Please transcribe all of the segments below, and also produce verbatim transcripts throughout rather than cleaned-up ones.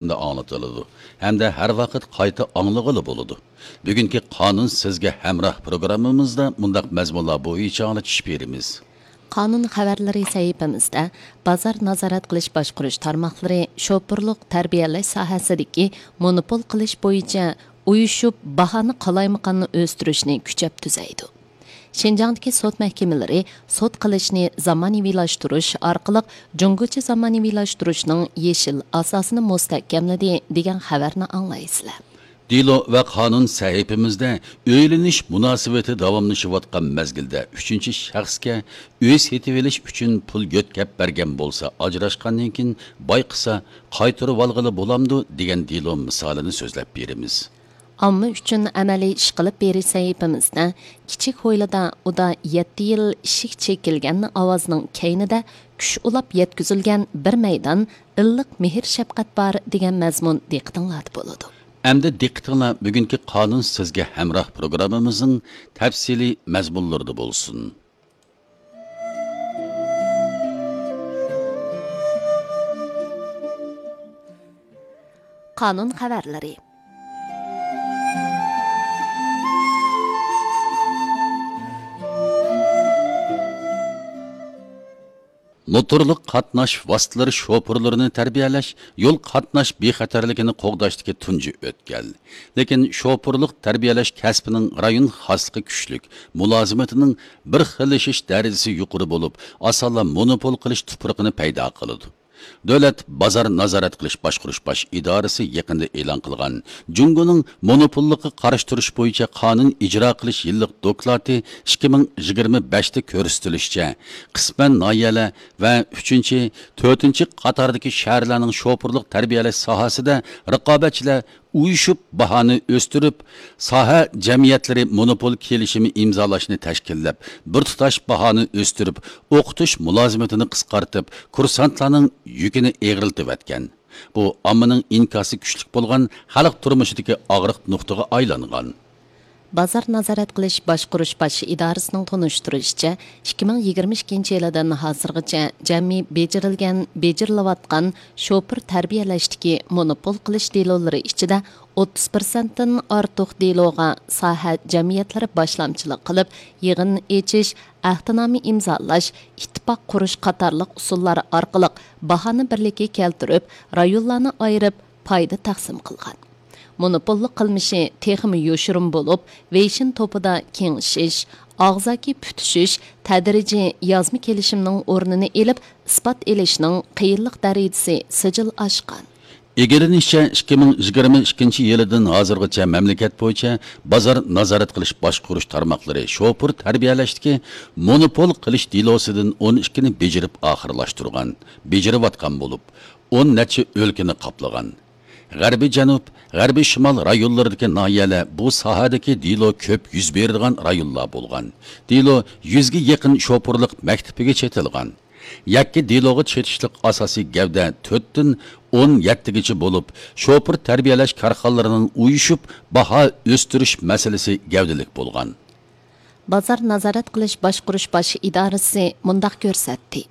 ئاڭلىتىلىدۇ ھەمدە ھەر ۋاقىت قايتا ئاڭلىغىلى بولىدۇ. بۈگۈنكى قانۇن سىزگە ھەمراھ پروگراممىمىزدا مۇنداق مەزمۇنلار بويىچە ئاڭلىتىش بېرىمىز. قانۇن خەۋەرلىرى سەھىپىمىزدە بازار نازارەت قىلىش باشقۇرۇش تارماقلىرى شوپۇرلۇق تەربىيەلەش ساھەسىدىكى مونوپول قىلىش بويىچە ئۇيۇشۇپ باھانى قالايمىقاننى ئۆستۈرۈشنى كۈچەپ تۈزەيدۇ. شىنجاڭدىكى سوت مەھكىمىلىرى سوت قىلىشنى زامانىۋىلاشتۇرۇش ئارقىلىق جۇڭگوچە زامانىۋىلاشتۇرۇشنىڭ يېشىل ئاساسىنى مۇستەھكەملىدى، دېگەن خەۋەرنى ئاڭلايسىلەر. دېلو ۋە قانۇن سەھىپىمىزدە ئۆيلىنىش مۇناسىۋىتى داۋاملىشىۋاتقان مەزگىلدە ئۈچىنچى شەخسكە ئۆي سېتىۋېلىش ئۈچۈن پۇل يۆتكەپ بەرگەن بولسا، ئاجراشقاندىن كېيىن بايقىسا قايتۇرۇۋالغىلى بولامدۇ دېگەن دېلو مىسالىنى سۆزلەپ بېرىمىز. ئامما ئۈچۈن ئەمەلىي ئىش قىلىپ بېرىش سەھىپىمىزدە كىچىك ھويلىدا ئۇدا يەتتە يىل ئىشىك چېكىلگەن ئاۋازنىڭ كەينىدە كۈچ ئۇلاپ يەتكۈزۈلگەن بىر مەيدان ئىللىق مېھىر شەپقەت بار دېگەن مەزمۇن دىققىتىڭلاردا بولىدۇ. ئەمدى دىققىتىڭلار بۈگۈنكى قانۇن سىزگە ھەمراھ پروگراممىمىزنىڭ تەپسىلىي مەزمۇنلىرىدا بولسۇن. قانۇن خەۋەرلىرى. موتورلۇق قاتناش ۋاسىتىلىرى شوپۇرلىرىنى تەربىيەلەش يول قاتناش بىخەتەرلىكىنى قوغداشتىكى تۇنجى ئۆتكەل. لېكىن شوپۇرلۇق تەربىيەلەش كەسپىنىڭ رايون خاسلىقى كۈچلۈك، مۇلازىمىتىنىڭ بىر خىللىشىش دەرىجىسى يۇقىرى بولۇپ، ئاسانلا مونوپول قىلىش تۇپرىقىنى پەيدا قىلىدۇ. دۆلەت بازار نازارەت قىلىش باشقۇرۇش باش ئىدارىسى يېقىندا ئېلان قىلغان جۇڭگونىڭ مونوپوللۇققا قارشى تۇرۇش بويىچە قانۇن ئىجرا قىلىش يىللىق دوكلاتى ئىككى مىڭ يىگىرمە بەشتە كۆرسىتىلىشىچە، قىسمەن ناھىيەلەر ۋە ئۈچىنچى، تۆتىنچى قاتاردىكى شەھەرلەرنىڭ شوپۇرلۇق تەربىيەلەش ساھەسىدە رىقابەتچىلەر ئۇيۇشۇپ باھانى ئۆستۈرۈپ، ساھە جەمئىيەتلىرى مونوپول كېلىشىمى ئىمزالاشنى تەشكىللەپ، بىر تۇتاش باھانى ئۆستۈرۈپ، ئوقۇتۇش مۇلازىمىتىنى قىسقارتىپ، كۇرسانتلارنىڭ يۈكىنى ئېغىرلىتىۋەتكەن. بۇ ئاممىنىڭ ئىنكاسى كۈچلۈك بولغان خەلق تۇرمۇشىدىكى ئاغرىق نۇقتىغا ئايلانغان. بازار نازارەت قىلىش باشقۇرۇش باش ئىدارىسىنىڭ تونۇشتۇرۇشىچە، ئىككى مىڭ يىگىرمە ئىككىنچى يىلىدىن ھازىرغىچە جەمئىي بېجىرىلگەن، بېجىرىلىۋاتقان شوپۇر تەربىيەلەشتىكى مونوپول قىلىش دېلولىرى ئىچىدە ئوتتۇز پىرسەنتتىن ئارتۇق دېلوغا ساھە جەمئىيەتلىرى باشلامچىلىق قىلىپ، يىغىن ئېچىش، ئەھدىنامە ئىمزالاش، ئىتتىپاق قۇرۇش قاتارلىق ئۇسۇللار ئارقىلىق باھانى بىرلىككە كەلتۈرۈپ، رايونلارنى ئايرىپ، پايدا تەقسىم قىلغان. مونوپوللۇق قىلمىشى تېخىمۇ يوشۇرۇن بولۇپ، ۋېيشىن توپىدا كېڭىشىش، ئاغزاكى پۈتۈشۈش، تەدرىجىي يازما كېلىشىمنىڭ ئورنىنى ئېلىپ، ئىسپات ئېلىشنىڭ قىيىنلىق دەرىجىسى سىجىل ئاشقان. ئىگىلىنىشىچە، ئىككى مىڭ يىگىرمە ئىككىنچى يىلىدىن ھازىرغىچە مەملىكەت بويىچە بازار نازارەت قىلىش باشقۇرۇش تارماقلىرى شوپۇر تەربىيەلەشتىكى مونوپول قىلىش دېلوسىدىن ئون ئىككىنى بېجىرىپ ئاخىرلاشتۇرغان، بېجىرىۋاتقان بولۇپ، ئون نەچچە ئۆلكىنى قاپلىغان. غەربىي جەنۇب، غەربىي شىمال رايونلىرىدىكى ناھىيەلەر بۇ ساھەدىكى دېلو كۆپ يۈز بېرىدىغان رايونلار بولغان. دېلو يۈزگە يېقىن شوپۇرلۇق مەكتىپىگە چېتىلغان. يەككە دېلوغا چېتىشلىق ئاساسىي گەۋدە تۆتتىن ئون يەتتىگىچە بولۇپ، شوپۇر تەربىيەلەش كارخانىلىرىنىڭ ئۇيۇشۇپ باھا ئۆستۈرۈش مەسىلىسى گەۋدىلىك بولغان. بازار نازارەت قىلىش باشقۇرۇش باش ئىدارىسى مۇنداق كۆرسەتتى: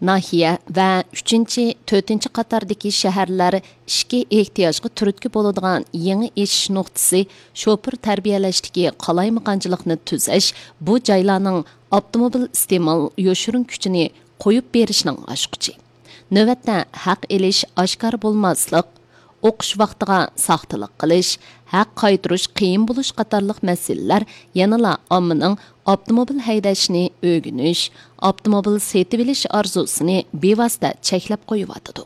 ناھىيە ۋە ئۈچىنچى، تۆتىنچى قاتاردىكى شەھەرلەر ئىچكى ئېھتىياجغا تۈرتكە بولىدىغان يېڭى ئېشىش نۇقتىسى شوپۇر تەربىيەلەشتىكى قالايمىقانچىلىقنى تۈزەش، بۇ جايلارنىڭ ئاپتوموبىل ئىستېمال يوشۇرۇن كۈچىنى قويۇپ بېرىشنىڭ ئاچقۇچى. نۆۋەتتە ھەق ئېلىش ئاشكارا بولماسلىق، ئوقۇش ۋاقتىغا ساختىلىق قىلىش، ھەق قايتۇرۇش قىيىن بولۇش قاتارلىق مەسىلىلەر يەنىلا ئاممىنىڭ ئاپتوموبىل ھەيدەشنى ئۆگىنىش، ئاپتوموبىل سېتىۋېلىش ئارزۇسىنى بىۋاسىتە چەكلەپ قويۇۋاتىدۇ.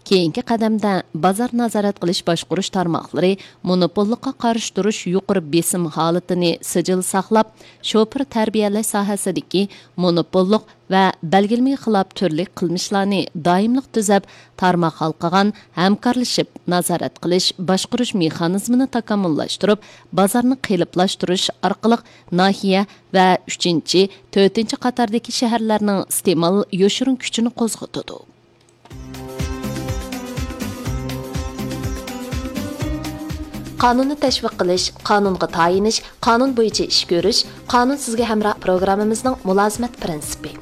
كېيىنكى قەدەمدە بازار نازارەت قىلىش باشقۇرۇش تارماقلىرى مونوپوللۇققا قارشى تۇرۇش يۇقىرى بېسىم ھالىتىنى سىجىل ساقلاپ، شوپۇر تەربىيەلەش ساھەسىدىكى مونوپوللۇق ۋە بەلگىلىمىگە خىلاپ تۈرلۈك قىلمىشلارنى دائىملىق تۈزەپ، تارماق ھالقىغان ھەمكارلىشىپ نازارەت قىلىش، باشقۇرۇش مېخانىزمىنى تاكامۇللاشتۇرۇپ، بازارنى قېلىپلاشتۇرۇش ئارقىلىق ناھىيە ۋە ئۈچىنچى، تۆتىنچى قاتاردىكى شەھەرلەرنىڭ ئىستېمال يوشۇرۇن كۈچىنى قوزغىتىدۇ. قانۇننى تەشۋىق قىلىش، قانۇنغا تايىنىش، قانۇن بويىچە ئىش كۆرۈش، قانۇن سىزگە ھەمراھ پروگراممىمىزنىڭ مۇلازىمەت پىرىنسىپى.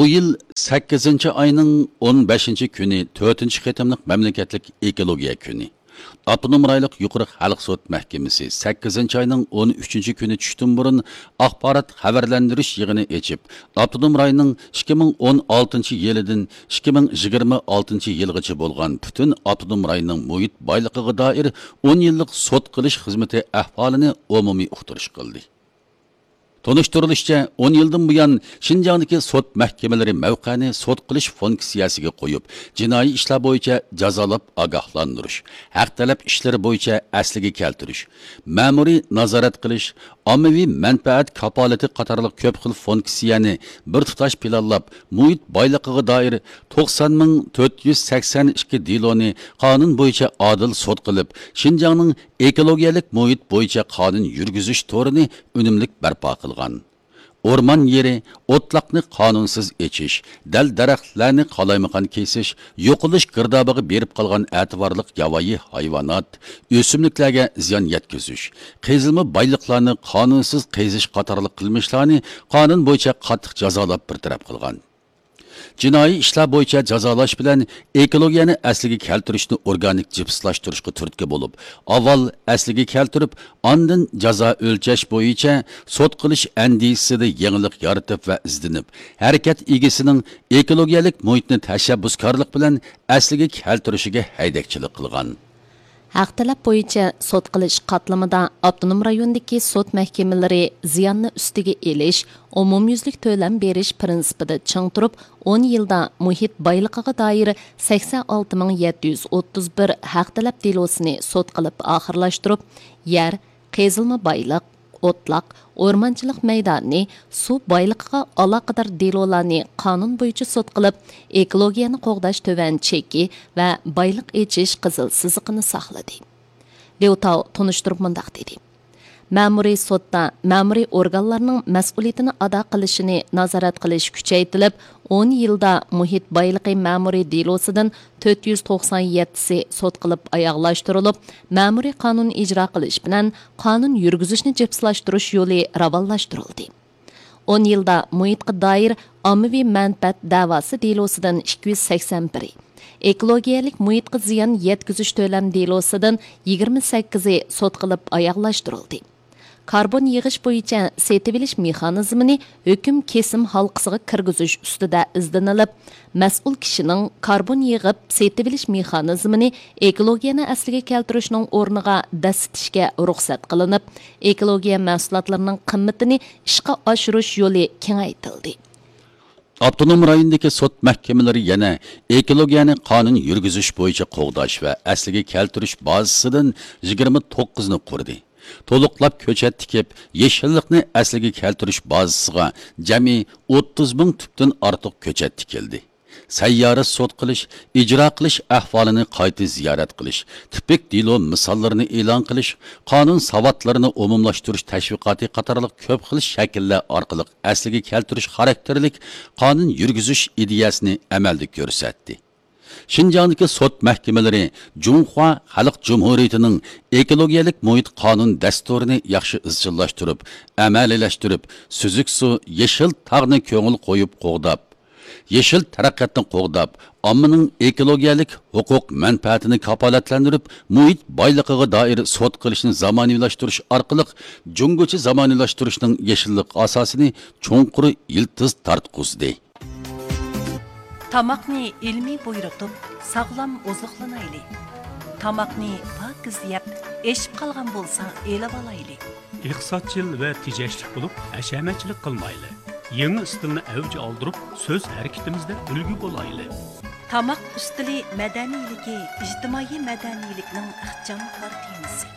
بۇ يىل سەككىزىنچى ئاينىڭ ئون بەشىنچى كۈنى تۆتىنچى قېتىملىق مەملىكەتلىك ئېكولوگىيە كۈنى. ئاپتونوم رايونلۇق يۇقىرى خەلق سوت مەھكىمىسى سەككىزىنچى ئاينىڭ ئون ئۈچىنچى كۈنى چۈشتىن بۇرۇن ئاخبارات خەۋەرلەندۈرۈش يىغىنى ئېچىپ، ئاپتونوم رايوننىڭ ئىككى مىڭ ئون ئالتىنچى يىلىدىن ئىككى مىڭ يىگىرمە ئالتىنچى يىلغىچە بولغان پۈتۈن ئاپتونوم رايوننىڭ مۇھىت بايلىقىغا دائىر ئون يىللىق سوت قىلىش خىزمىتى ئەھۋالىنى ئومۇمىي ئۇقتۇرۇش قىلدى. تونۇشتۇرۇلۇشىچە، ئون يىلدىن بۇيان شىنجاڭدىكى سوت مەھكىمىلىرى مەۋقەنى سوت قىلىش فۇنكسىيەسىگە قويۇپ، جىنايى ئىشلار بويىچە جازالاپ ئاگاھلاندۇرۇش، ھەق تەلەپ ئىشلىرى بويىچە ئەسلىگە كەلتۈرۈش، مەمۇرىي نازارەت قىلىش، ئاممىۋى مەنپەئەت كاپالىتى قاتارلىق كۆپ خىل فۇنكسىيەنى بىر تۇتاش پىلانلاپ، مۇھىت بايلىقىغا دائىر توقسان مىڭ تۆت يۈز سەكسەن ئىككى دېلونى قانۇن بويىچە ئادىل سوت قىلىپ، شىنجاڭنىڭ ئېكولوگىيەلىك مۇھىت بويىچە قانۇن يۈرگۈزۈش تورىنى ئۈنۈملۈك بەرپا قىلغان. ئورمان يېرى، ئوتلاقنى قانۇنسىز ئېچىش، دەل-دەرەخلەرنى قالايمىقان كېسىش، يوقىلىش گىردابىغا بېرىپ قالغان ئەتىۋارلىق ياۋايى ھايۋانات، ئۆسۈملۈكلەرگە زىيان يەتكۈزۈش، قېزىلما بايلىقلارنى قانۇنسىز قېزىش قاتارلىق قىلمىشلارنى قانۇن بويىچە قاتتىق جازالاپ بىر تەرەپ قىلغان. جىنايى ئىشلار بويىچە جازالاش بىلەن ئېكولوگىيەنى ئەسلىگە كەلتۈرۈشنى ئورگانىك جىپسلاشتۇرۇشقا تۈرتكە بولۇپ، ئاۋۋال ئەسلىگە كەلتۈرۈپ، ئاندىن جازا ئۆلچەش بويىچە سوت قىلىش ئەندىزىسىدە يېڭىلىق يارىتىپ ۋە ئىزدىنىپ، ھەرىكەت ئىگىسىنىڭ ئېكولوگىيەلىك مۇھىتنى تەشەببۇسكارلىق بىلەن ئەسلىگە كەلتۈرۈشىگە ھەيدەكچىلىك قىلغان. ھەق تەلەپ بويىچە سوت قىلىش قاتلىمىدا ئاپتونوم رايوندىكى سوت مەھكىمىلىرى زىياننى ئۈستىگە ئېلىش، ئومۇميۈزلۈك تۆلەم بېرىش پىرىنسىپىدا چىڭ تۇرۇپ، ئون يىلدا مۇھىت بايلىقىغا دائىر سەكسەن ئالتە مىڭ يەتتە يۈز ئوتتۇز بىر ھەق تەلەپ دېلوسىنى سوت قىلىپ ئاخىرلاشتۇرۇپ، يەر، قېزىلما بايلىق، ئوتلاق، ئورمانچىلىق مەيدانى، سۇ بايلىقىغا ئالاقىدار دېلولارنى قانۇن بويىچە سوت قىلىپ، ئېكولوگىيەنى قوغداش تۆۋەن چېكى ۋە بايلىق ئېچىش قىزىل سىزىقىنى ساقلىدى. ليۇ تاۋ تونۇشتۇرۇپ مۇنداق دېدى: مەمۇرىي سوتتا مەمۇرىي ئورگانلارنىڭ مەسئۇلىيىتىنى ئادا قىلىشىنى نازارەت قىلىش كۈچەيتىلىپ، ئون يىلدا مۇھىت بايلىقى مەمۇرىي دېلوسىدىن تۆت يۈز توقسان يەتتىسى سوت قىلىپ ئاياغلاشتۇرۇلۇپ، مەمۇرىي قانۇن ئىجرا قىلىش بىلەن قانۇن يۈرگۈزۈشنى جىپسلاشتۇرۇش يولى راۋانلاشتۇرۇلدى. ئون يىلدا مۇھىتقا دائىر ئاممىۋى مەنپەئەت دەۋاسى دېلوسىدىن ئىككى يۈز سەكسەن بىرى، ئېكولوگىيەلىك مۇھىتقا زىيان يەتكۈزۈش تۆلەم دېلوسىدىن يىگىرمە سەككىزى سوت قىلىپ ئاياغلاشتۇرۇلدى. كاربون يىغىش بويىچە سېتىۋېلىش مېخانىزمىنى ھۆكۈم كېسىم ھالقىسىغا كىرگۈزۈش ئۈستىدە ئىزدىنىلىپ، مەسئۇل كىشىنىڭ كاربون يىغىپ سېتىۋېلىش مېخانىزمىنى ئېكولوگىيەنى ئەسلىگە كەلتۈرۈشنىڭ ئورنىغا دەسسىتىشكە رۇخسەت قىلىنىپ، ئېكولوگىيە مەھسۇلاتلىرىنىڭ قىممىتىنى ئىشقا ئاشۇرۇش يولى كېڭەيتىلدى. ئاپتونوم رايوندىكى سوت مەھكىمىلىرى يەنە ئېكولوگىيەنى قانۇن يۈرگۈزۈش بويىچە قوغداش ۋە ئەسلىگە كەلتۈرۈش بازىسىدىن يىگىرمە توققۇزنى قۇردى. تولۇقلاپ كۆچەت تىكىپ، يېشىللىقنى ئەسلىگە كەلتۈرۈش بازىسىغا جەمئىي ئوتتۇز مىڭ تۈپتىن ئارتۇق كۆچەت تىكىلدى. سەييارە سوت قىلىش، ئىجرا قىلىش ئەھۋالىنى قايتا زىيارەت قىلىش، تىپىك دېلو مىساللىرىنى ئېلان قىلىش، قانۇن ساۋاتلىرىنى ئومۇملاشتۇرۇش تەشۋىقاتى قاتارلىق كۆپ خىل شەكىللەر ئارقىلىق ئەسلىگە كەلتۈرۈش خاراكتېرلىك قانۇن يۈرگۈزۈش ئىدىيەسىنى ئەمەلدە كۆرسەتتى. شىنجاڭدىكى سوت مەھكىمىلىرى جۇڭخۇا خەلق جۇمھۇرىيىتىنىڭ ئېكولوگىيەلىك مۇھىت قانۇن دەستۇرىنى ياخشى ئىزچىللاشتۇرۇپ، ئەمەلىيلەشتۈرۈپ، سۈزۈك سۇ، يېشىل تاغنى كۆڭۈل قويۇپ قوغداپ، يېشىل تەرەققىياتنى قوغداپ، ئاممىنىڭ ئېكولوگىيەلىك ھوقۇق مەنپەئەتىنى كاپالەتلەندۈرۈپ، مۇھىت بايلىقىغا دائىر سوت قىلىشنى زامانىۋىلاشتۇرۇش ئارقىلىق جۇڭگوچە زامانىۋىلاشتۇرۇشنىڭ يېشىللىق ئاساسىنى چوڭقۇر يىلتىز تارتقۇزدى. تاماقنى ئىلمىي بۇيرۇتۇپ، ساغلام ئوزۇقلىنايلى. تاماقنى پاكىز يەپ، ئېشىپ قالغان بولسا ئېلىۋالايلى. ئىقتىسادچىل ۋە تېجەشلىك بولۇپ، ھەشەمەتچىلىك قىلمايلى. يېڭى ئىستىلنى ئەۋج ئالدۇرۇپ، سۆز ھەرىكىتىمىزدە ئۈلگە بولايلى. تاماق ئۈستىلى مەدەنىيلىكى ئىجتىمائىي مەدەنىيلىكنىڭ ئىخچام كارتىنىسى.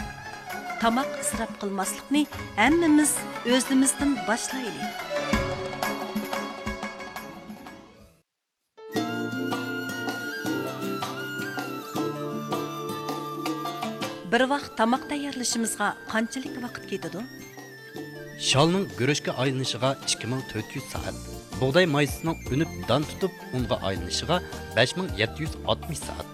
تاماق ئىسراپ قىلماسلىقنى ھەممىمىز ئۆزىمىزدىن باشلايلى. بىر ۋاق تاماق تەييارلىشىمىزغا قانچىلىك ۋاقىت كېتىدۇ؟ شالنىڭ گۈرۈچكە ئايلىنىشىغا ئىككى مىڭ تۆت يۈز سائەت، بۇغداي مايسىسىنىڭ ئۈنۈپ دان تۇتۇپ ئۇنغا ئايلىنىشىغا بەش مىڭ يەتتە يۈز ئاتمىش سائەت،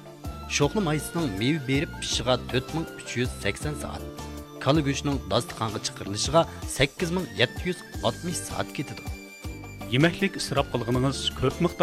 شوخلا مايسىسىنىڭ مېۋە بېرىپ پىشىشىغا تۆت مىڭ ئۈچ يۈز سەكسەن سائەت، كالا گۆشىنىڭ داستىخانغا چىقىرىلىشىغا سەككىز مىڭ يەتتە يۈز ئاتمىش سائەت كېتىدۇ. يېمەكلىك ئىسراپ قىلغىنىڭىز، كۆپ مىقداردا